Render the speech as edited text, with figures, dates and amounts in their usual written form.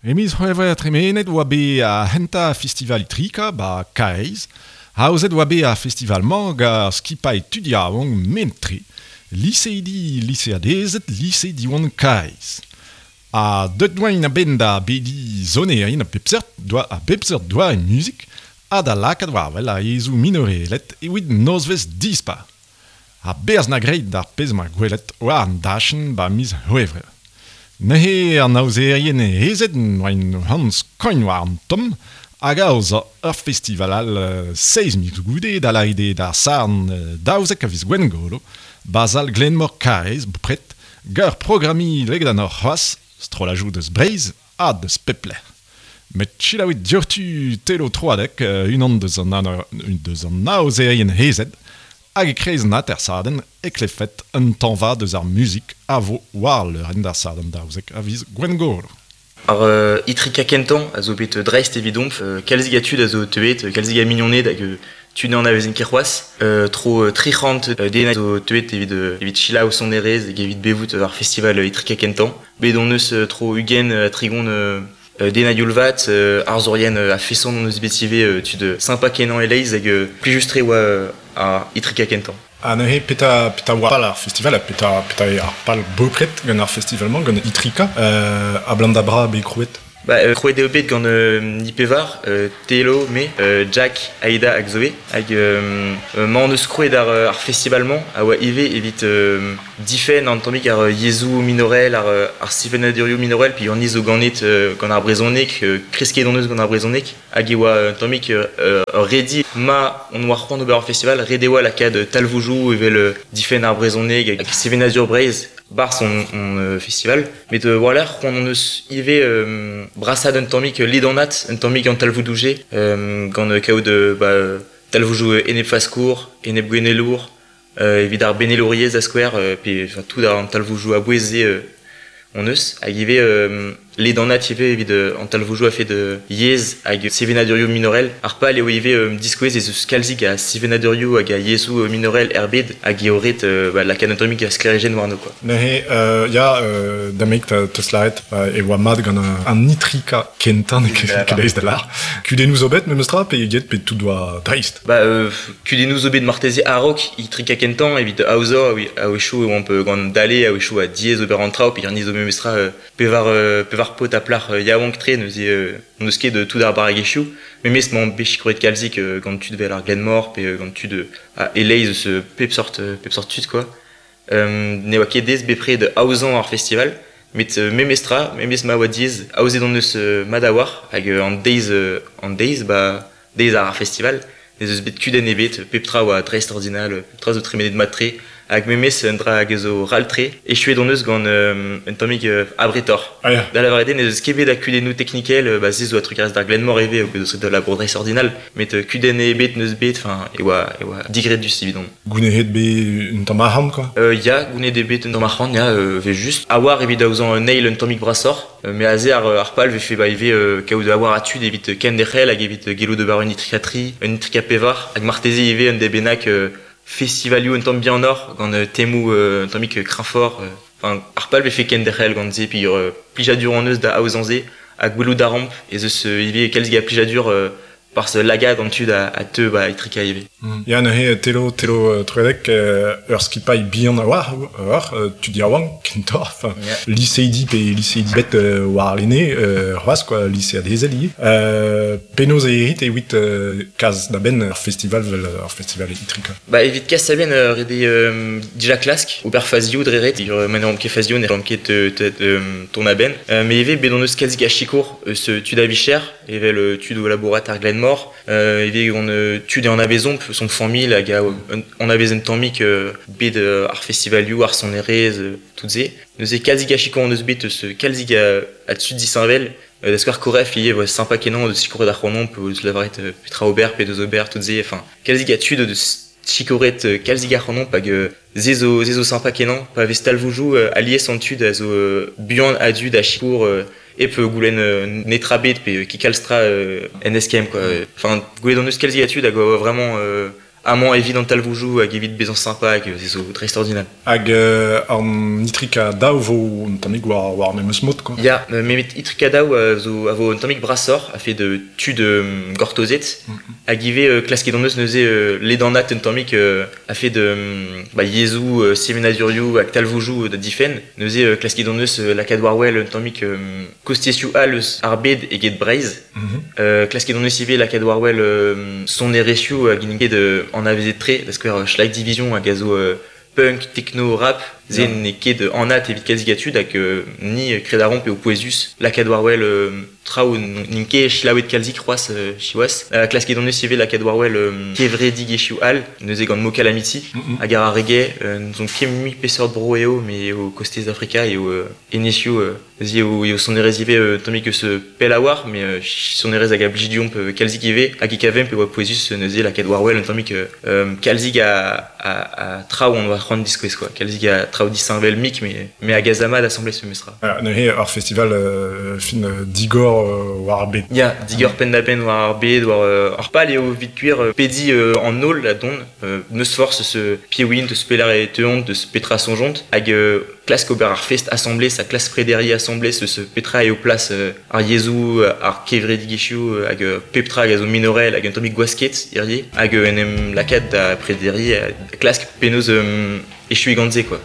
E miz C'hwevrer tremenet oa bet ar c'hentañ festival Itrika 'ba Karaez. Aozet oa bet ar festival-mañ gant ar skipailh tud yaouank mennet-tre, liseidi, liseadezed lise Diwan Karaez. Ha deuet oaint a-benn da bediñ sonerien a bep seurt doa a bep seurt doare muzik ha da lakaat war-wel ar yezhoù minorelet evit nozvezh dispar. Ha berzh 'na graet d'ar pezh 'ma gwelet war an dachenn 'ba miz C'hwevrer. Neuze an aozerien ezed 'oaint c'hoant skoiñ war an tomm hag aozañ ur festival all seizh miz goude da lâret eo d'ar Sadorn 12 a viz Gwengolo 'ba sal Glenmor Karaez bepred gant ur programmiñ ledanoc'h c'hoazh strollajoù deus Breizh ha deus pep lec'h. Met selaouit diouzhtu Telo Troadec, unan deus an aozerien ezed, Hag e-kreiz an atersadenn e klevfet un tañva deus ar muzik a vo war al leurenn d'ar Sadorn 12 a viz Gwengolo. Ar itrika kentañ a zo bet dreist evidomp. Kalzik a tud a zo teuet, kalzik a mignoned hag tud n'anavezen ket c'hoazh. Tro 300 den a zo teuet evit evit selaou sonerezh hag evit bevout ar festival itrika kentañ. Bet hon eus tro 20 ha 30 Den a-youl vat, arzourien a-feson hon eus bet ivez tud sympa-kenañ e-leizh hag plijus-tre oa ar Itrika kentañ. Ha neuze petra petra oa pal ar festival ha petra petra eo ar pal bepred gant ar festival-mañ, gant Itrika, abalamour da bra bet krouet? Ba, krouet eo bet gant Nipevar, Telo, me, Jack, Aida hag Zoé. Hag ma hon eus krouet ar festival-mañ a oa ivez evit Difenn an tammig ar yezhoù minorel, ar sevenadurioù minorel, pe an zo ganet gant ar brezhoneg, kresket hon eus gant ar brezhoneg, hag e oa un tammig ur redi ma hon oa c'hoant ober ur festival, ret e oa lakaat talvoudoù evel difenn ar brezhoneg hag sevenadur Breizh 'barzh hon festival. Met war-lerc'h c'hoant hon eus ivez brasaat un tammig ledanat un tammig an talvoudoù-se gant kaout ba talvoudoù enep-faskour, enep-gouennelour, Evit ar benelouriezh da skouer pe enfin tout an talvoudoù a-bouez-se hon eus hag ivez ledanat ivez evit an talvoudoù a-fet yezh hag sevenadurioù minorel. Ar pal eo ivez diskouez ez eus kalzik a sevenadurioù hag a yezhoù minorel er bed hag eo ret ba, lakaat un tammig a sklêrijenn warno quoi. Neuze ya da-meik 'teus lâret e oa mat gant an itrikañ kentañ n'eo ket aes da lâr. Kudennoù zo bet memestra pe get pe tout oa dreist? Ba, kudennoù zo bet marteze a-raok itrikañ kentañ evit aozañ a-wechoù e oamp gant dale, a-wechoù a diaes ober an traoù peogwir ni zo memestra pevar pevar paotr ha plac'h yaouank-tre neuze n'hon eus ket tout ar barregezhioù. Memes m'omp bet sikouret kalzik gant tud 'vel ar Glenmor pe gant tud e-leizh eus pep sort pep sort tud quoi. Ne oa ket aes bepred aozañ ar festival met memestra, memes ma oa diaes, aozet hon eus mat a-walc'h hag an deiz an deiz ba Deiz ar festival n'ez eus bet kudenn ebet, pep tra oa dreistordinal, pep tra zo tremenet mat-tre, hag memes un dra hag a zo ral-tre. Echuet hon eus gant un tammig abretoc'h. Ah ya. Da lavaret eo n'ez eus ket bet a kudennoù teknikel, ba se zo a-trugarez d'ar Glenmor ivez, o peus ret labour dreistordinal, met kudenn ebet n'eus bet, enfin, e oa, e oa digredus evidon. Gounezet bet un tamm arc'hant quoi. Ya, gounezet eo bet un tamm arc'hant, ya, evel-just. A-walc'h evit aozañ un eil un tammig brasoc'h. Mais aze ar, ar pal vefe ba ivez kaout a-walc'h a tud evit kenderc'hel hag evit gellout ober un itrika tri, un itrika pevar, hag marteze ivez un deiz bennak festivalioù un tamm bihanoc'h gant temoù un tammig kreñfoc'h. Enfin, ar pal vefe kenderc'hel gant se peogwir plijadur hon eus da aozañ se ha gwelout a ramp ez eus ivez kalzik a plijadur Barzh lagad an tud a teu ba Itrika ivez. Ya neuze Telo, Telo Troadec, ur skipailh bihan a-walc'h ur tud yaouank kentoc'h, enfin liseidi pe liseidi bet warlene c'hoazh quoi, liseadezel ivez. Penaos e rit evit kas da benn ur festival vel ur festival Itrika? Ba evit kas da benn ret eo dija klask ober fazioù dre ret, ma ne ran ket fazioù ne ran ket ton a-benn. Mais ivez bet on eus kalzik a sikour eus tud a vicher evel tud o labourat ar Glenmor, ivez gant tud e anavezomp, son familh hag a anavez un tammig bed ar festivalioù, ar sonerezh, tout se. Neuze kalzik a sikour hon eus bet eus kalzik a tud disheñvel. Da skouer Koref ivez voa sympa kenañ deus sikouret ac'hanomp, deus lavaret petra ober pe deus ober tout se. Enfin, kalzik a tud deus sikouret kalzik ac'hanomp hag se zo, se zo sympa kenañ. Pa vez talvoudoù alies an tud a zo buan a-du da sikour hep goulenn netra bet pe ki kalz tra en eskemm quoi. Enfin, gwelet hon eus kalzik a tud hag a oa vraiment Amañ evit an talvoudoù hag evit bezañ sympa hag se zo dreistordinal. Hag an Itrika Daou vo un tammig war, war memes mod, quoi. Ya, memet Itrika Daou zo a vo un tammig brasoc'h a fait de tud gortozet hag ivez klasket hon eus neuze ledanat un tammig a fait de ba, yezhoù, sevenadurioù hag talvoudoù da difenn. Neuze klasket hon eus lakaat war wel un tammig kostezioù all eus ar bed eget Breizh. Klasket hon eus ivez lakaat war wel sonerezhioù hag int ket anavezet-tre, da skouer Schlag Division hag a zo punk, techno, rap, se n'eo ket anat evit kalzik a tud hag ni kred a romp eo pouezus lakaat war wel traoù n'int ket selaouet kalzik c'hoazh siwazh. Klasket hon eus ivez lakaat war wel kevredigezhioù all, neuze gant Mo Calamity hag ar reggae, n'ouzon ket mui peseurt bro eo, met eo kostez Afrika eo enezioù neuze eo sonerezh ivez tammig eus pell a-walc'h, met sonerezh hag a blij deomp kalzik ivez hag e kavemp e oa pouezus neuze lakaat war wel un tammig kalzik a traoù on oa c'hoant diskouez quoi, kalzik a traoù disheñvel mik met hag a za mat asambles memestra. Neuze ur festival fin digor war ar bed. Ya, digor penn-da-benn war ar bed, war ar pal eo evit gwir pediñ an holl a dont, n'eus forzh eus piv int, eus pelec'h e teuont, eus petra soñjont, hag klask ober ar fest asambles ha klask prederiñ asambles eus petra eo plas ar yezhoù, ar kevredigezhioù hag pep tra hag a zo minorel hag un tammig gwasket hiziv, hag en em lakaat da prederiñ, klask penaos echuiñ gant se quoi.